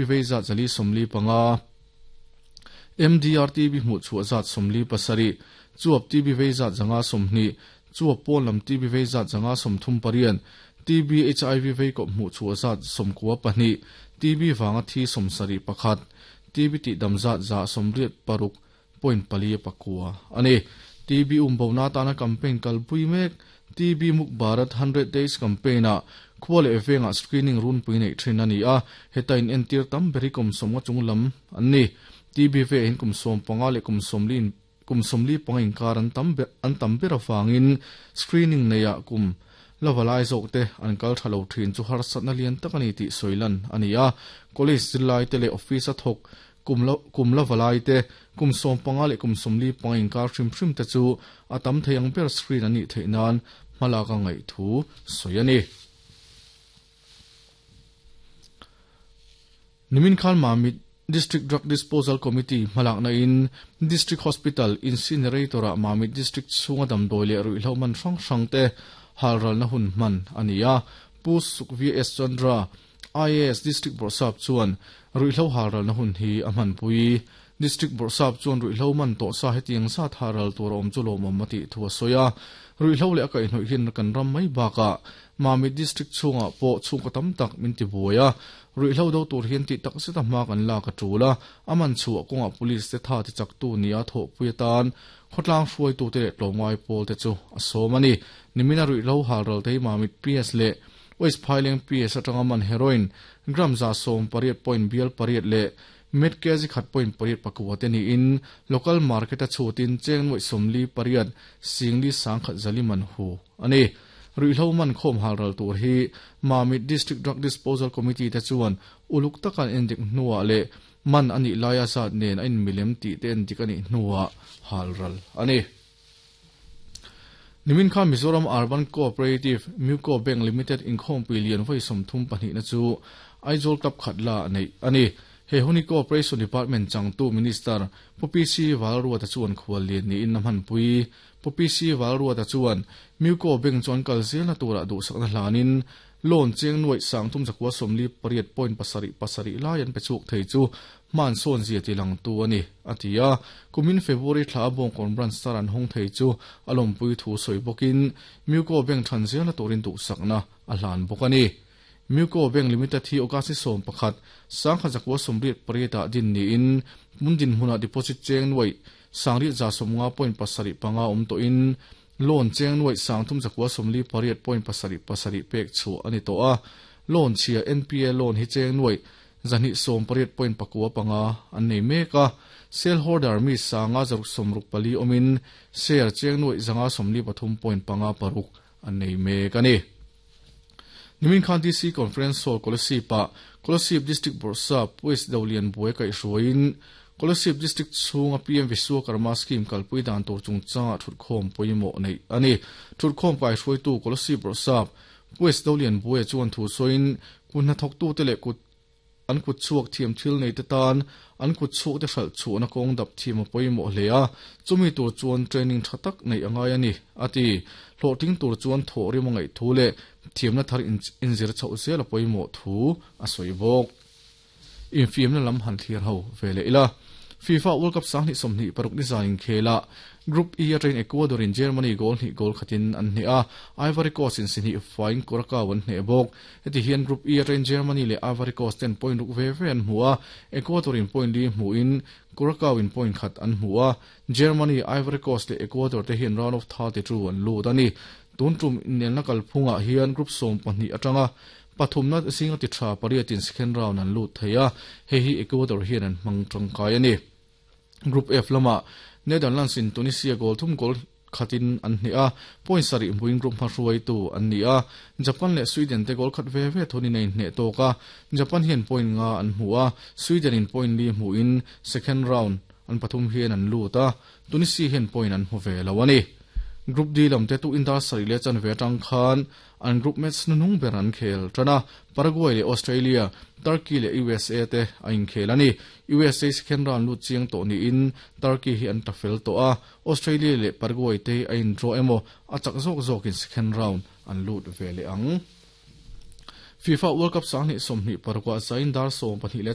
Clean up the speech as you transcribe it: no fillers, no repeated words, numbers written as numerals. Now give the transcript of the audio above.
Vei zat 445, MDR TB hmuh chhuah zat 47, chuap TB vei zat 120, chuap pawn lam TB vei zat 138, TB HIV vei kawp hmuh chhuah zat 92, TB vanga thi 71, TB tih dam zat 186.49 ani. TB umbo na tana campaign kalpui mek TB Muk Bharat 100 Days campaign a khua leh venga screening run pui nei thin ani a, hetain entir tam beri kum somnga chunglam an ni. TB ve hin kum 15 le kum 40 kum 45 inkar an tam an tam ber awangin screening neia kum lavalai zawk te an kal thalo thin chu har satna lian tak ani ti soilan ani a. College zilai te le office a thok kum lavalai te kum 15 le kum 45 inkar hrim hrim te chu atam theiang ber screen ani theinan hmalaka ngai thu soiani. Nimin khan Mamit District Drug Disposal Committee malak na in District Hospital Incinerator a Mamit District chunga damdawi leh ruihhlo man hrang hrang te halral na hun hman ania. Pu Suk V S Chandra IAS District Borsap chuan ruihhlo halral na hun hi a hmanpui. District Borsap chuan ruihhlo man tawh sa hetiang zat halral tur a awm chu lawmawm a tih thu a sawi a. Ruihhlo leh a kaihhnawih hin kan ram mai bakah Mamit District chhungah pawh chhungkaw tam tak min ti buai a. Ruihhlo do tur hian tih tak zeta hma kan lak a tul a, aman chhuah kawngah police te tha ti chaktu nia thawhpui atan khawtlang hruaitu te leh tlawmngai pawl te chu a sawm ani. Nimina ruihhlo halral te hi Mamit PS leh West Phaileng PS atanga man heroin gram 118 point bial pariat leh met kg khat point pariat pakua te niin local market a chhutin cheng nuai 48 singli sangkhat zaliman hu ani. Ruihhlo man khawm halral tur hi Mamit District Drug Disposal Committee te chuan uluk takan endik hnuah leh man ani laia zat nen a in milem tih te endik ani hnuah halral ani. Nimin kha Mizoram Urban Cooperative Muco Bank Limited inkhawmpui lian voi 32 na chu Aizawl Club khatla nei ani. He huni Cooperation Department changtu Minister Pu PC Valruata chuan khual lian ni in na hmanpui. Pu PC Valruata chuan Muco Bank chuan kal zel na turah duhsakna hlanin loan cheng nuai sang thum zakua 48 point pasarih pasarih lai an pe chuk thei chu man sawn zia ti lang tu ani atia. Kumin February thla bawng kon branch star an hong thei chu alompui thu soi bokin Muco Bank than zel na turin duhsakna a hlan bawk ani. Muco Bank Limited hi August 11 sangkha zakua 88 a din ni in mundin hmuna deposit cheng nuai sangri za 50 point pasarih panga awm tawh in loan cheng nuai sang thum zakua 48 point pasarih pasarih pek chu ani tawh a. Loan chhia NPA loan hi cheng nuai 218 point pakua panga an nei mek a. Shareholder mi sanga zaruk sawmruk pali awmin share cheng nuai 153 point panga paruk an nei mek ani. Nimin khan DC Conference Hall Kolasib a Kolasib District Borsap West Dolian Buai kai hruaiin Kolasib District chhunga PM Vishwakarma Scheme kalpui dan tur chungchanga thutkhawm pawimawh nei ani. Thutkhawm kai hruaitu Kolasib Borsap West Dolian Buai chuan thu sawiin kun hnathawktu te leh kut an kut chhuak thiam thil nei te tan an kut chhuak te hralh chhuahna kawng dap thiam a pawimawh hle a, chumi tur chuan training tha tak nei angai ani ati. Hlawhtling tur chuan thawh rim a ngaih thu leh thiamna thar inzir chhoh zel a pawimawh thu a sawi bawk. Infiamna lam han thlir ho ve leh ila. FIFA World Cup 2026 ni zan inkhela Group E atangin Ecuador in Germany goal hnih goal khatin an hneh a, Ivory Coast in si hnih fain Curacao an hneh bawk. Heti hian Group E atangin Germany leh Ivory Coast ten point ruk ve ve an hmu a, Ecuador in point li hmuin Curacao in point khat an hmu a. Germany, Ivory Coast leh Ecuador te hian round of 32 an lut ani. Tun tum inelna kalphungah hian Group 12 atanga pathumna zinga ti tha pariatin second round an lut thei a, hei hi Ecuador hian an hmang tangkai ani. Group F lama Netherlands in Tunisia goal thum goal khatin an hneh a, point sarih hmuin group hmahruaitu an ni a. Japan leh Sweden te goal khat ve ve thunin a inhneh tawk a, Japan hian point nga an hmu a, Sweden in point li hmuin second round an pathum hian an lut a, Tunisia hian point an hmu ve lo ani. Group D lam te tu indar sarih leh chan ve atang khan an group match nunung ber an khel tana Paraguay leh Australia, Turkey leh USA te a inkhel ani. USA second round lut chiang tawh niin Turkey hi an tafel tawh a, Australia leh Paraguay te a in draw emaw a chak zawk zawkin second round an lut ve leh ang. FIFA World Cup 2026 zain dar 12 leh